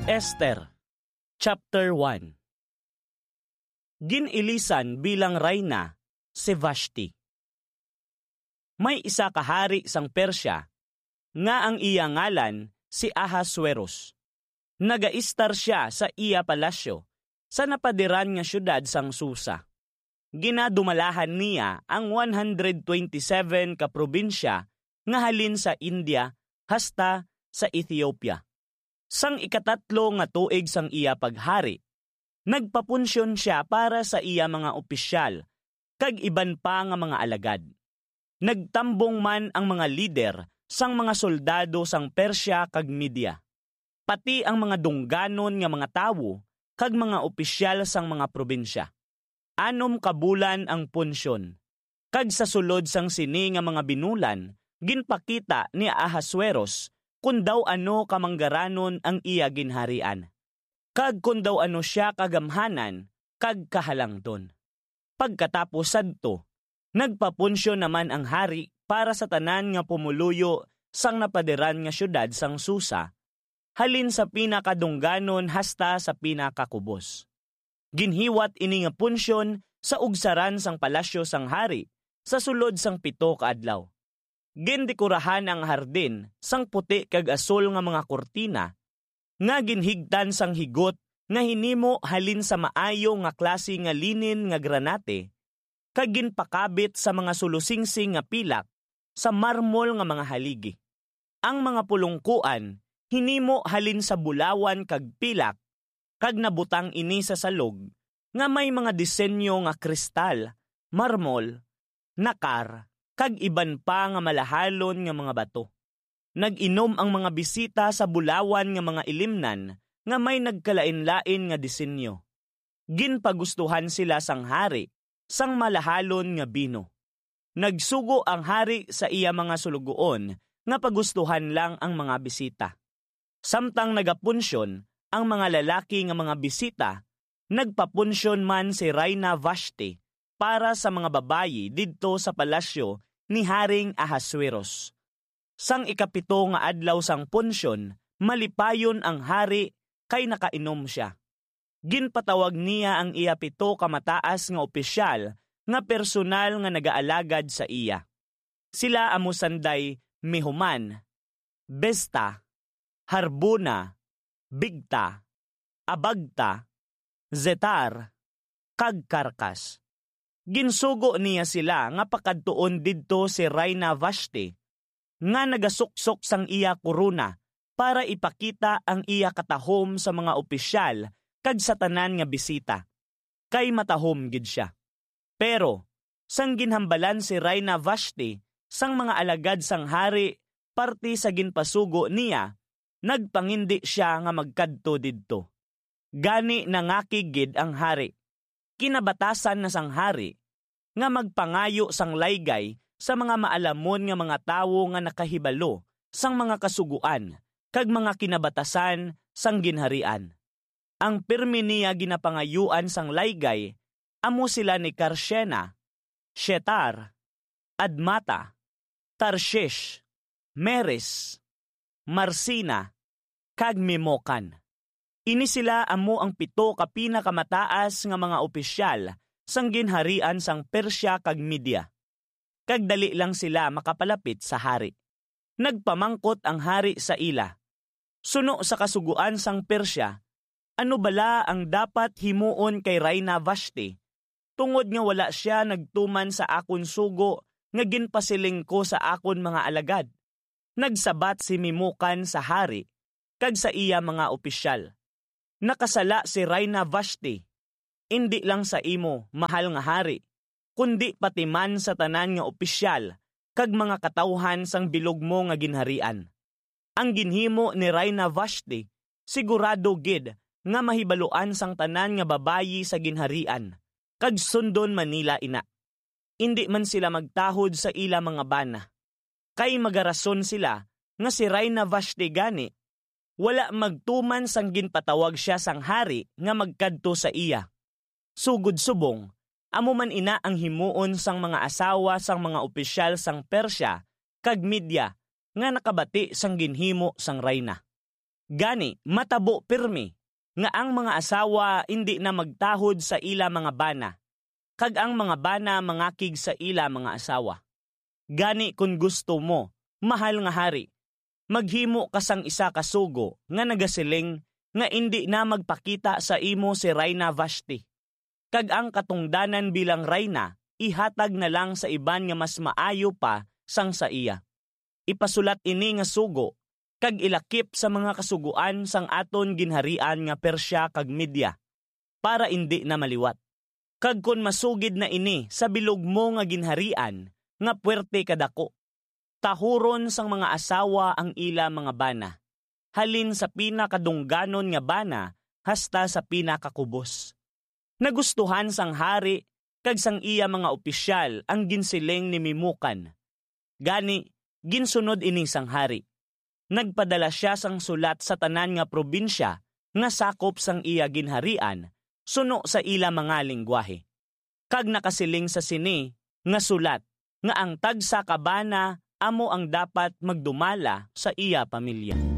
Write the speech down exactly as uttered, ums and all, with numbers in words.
Esther, Chapter one. Gin-ilisan bilang rayna si Vashti. May isa ka hari sang Persia nga ang iya ngalan si Ahasuerus. Nagaistar sia sa iya palasyo sa napadiran nga siyudad sang Susa. Ginadumalahan niya ang one hundred twenty-seven ka probinsya nga halin sa India hasta sa Ethiopia. Sang ikatatlo nga tuig sang iya paghari, nagpapunsyon sia para sa iya mga opisyal kag iban pa nga mga alagad. Nagtambong man ang mga lider sang mga soldado sang Persia kag Media, pati ang mga dungganon nga mga tawo kag mga opisyal sang mga probinsya. Anom ka bulan ang punsyon, kag sa sulod sang sini nga mga binulan, ginpakita ni Ahasuerus kon daw ano ka manggaranon ang iya ginharian, kag kon daw ano sia kagamhanan kag kahalangdon. Pagkatapos sadto, nagpapunsyon naman ang hari para sa tanan nga pumuluyo sang napadiran nga siyudad sang Susa, halin sa pinakadungganon hasta sa pinakakubos. Ginhiwat ini nga punsyon sa ugsaran sang palasyo sang hari sa sulod sang pito ka adlaw. Gindekurahan ang hardin sang puti kag asul nga mga kurtina nga ginhigtan sang higot nga hinimo halin sa maayo nga klase nga linen nga granate, kag ginpakabit sa mga sulusingsing nga pilak sa marmol nga mga haligi. Ang mga pulongkoan hinimo halin sa bulawan kag pilak, kag nabutang ini sa salog nga may mga disenyo nga kristal, marmol, nakar, kag iban pa nga malahalon nga mga bato. Nag-inom ang mga bisita sa bulawan nga mga ilimnan nga may nagkalainlain nga disenyo. Ginpagustuhan sila sang hari sang malahalon nga bino. Nagsugo ang hari sa iya mga sulugoon nga pagustuhan lang ang mga bisita. Samtang nagapunsyon ang mga lalaki nga mga bisita, nagpapunsyon man si Rayna Vashti para sa mga babayi didto sa palasyo ni Haring Ahasuerus. Sang ikapito nga adlaw sang punsyon, malipayon ang hari kay nakainom sia. Ginpatawag niya ang iya pito ka mataas nga opisyal nga personal nga nagaalagad sa iya. Sila amo sanday Mehuman, Biztha, Harbona, Bigtha, Abagtha, Zetar, kag Carcas. Ginsugo niya sila nga pakadtuon didto si Rayna Vashti, nga nagasuksok sang iya korona para ipakita ang iya katahom sa mga opisyal kag sa tanan nga bisita, kay matahom gid sia. Pero sang ginhambalan si Rayna Vashti sang mga alagad sang hari parte sa ginpasugo niya, nagpangindi sia nga magkadto didto. Gani nangakig gid ang hari. Kinabatasan na sang hari nga magpangayo sang laygay sa mga maalamon nga mga tawo nga nakahibalo sang mga kasugoan kag mga kinabatasan sang ginharian. Ang pirme niya ginapangayuan sang laygay amo sila ni Carcena, Shetar, Admata, Tarshish, Meres, Marsina, kag Memucan. Ini sila amo ang pito ka pinakamataas nga mga opisyal sang ginharian sang Persia kag Media, kag dali lang sila makapalapit sa hari. Nagpamangkot ang hari sa ila, "Suno sa kasugoan sang Persia, ano bala ang dapat himuon kay Rayna Vashti, tungod nga wala sia nagtuman sa akon sugo nga ginpasiling ko sa akon mga alagad?" Nagsabat si Memucan sa hari kag sa iya mga opisyal, "Nakasala si Rayna Vashti, indi lang sa imo, mahal nga hari, kundi pati man sa tanan nga opisyal kag mga katawuhan sang bilog mo nga ginharian. Ang ginhimo ni Rayna Vashti sigurado gid nga mahibaluan sang tanan nga babayi sa ginharian, kag sundon man nila ina. Indi man sila magtahod sa ila mga bana, kay magarason sila nga si Rayna Vashti gani wala magtuman sang ginpatawag sia sang hari nga magkadto sa iya. Sugod subong, amo man ina ang himuon sang mga asawa sang mga opisyal sang Persia kag Media nga nakabati sang ginhimo sang rayna." Gani, matabo pirmi nga ang mga asawa indi na magtahod sa ila mga bana, kag ang mga bana mangakig sa ila mga asawa. Gani, kon gusto mo, mahal nga hari, maghimo ka sang isa ka sugo nga nagasiling nga indi na magpakita sa imo si Rayna Vashti, kag ang katungdanan bilang rayna ihatag na lang sa iban nga mas maayo pa sang sa iya. Ipasulat ini nga sugo kag ilakip sa mga kasugoan sang aton ginharian nga Persia kag Media, para indi na maliwat. Kag kon masugid na ini sa bilog mo nga ginharian nga puwerte kadako, tahuron sang mga asawa ang ila mga bana, halin sa pinakadungganon nga bana hasta sa pinakakubos. Nagustuhan sang hari kag sang iya mga opisyal ang ginsiling ni Memucan. Gani, ginsunod ini sang hari. Nagpadala sia sang sulat sa tanan nga probinsya nga sakop sang iya ginharian suno sa ila mga linggwahe, kag nakasiling sa sini nga sulat nga ang tagsa ka bana amo ang dapat magdumala sa iya pamilya.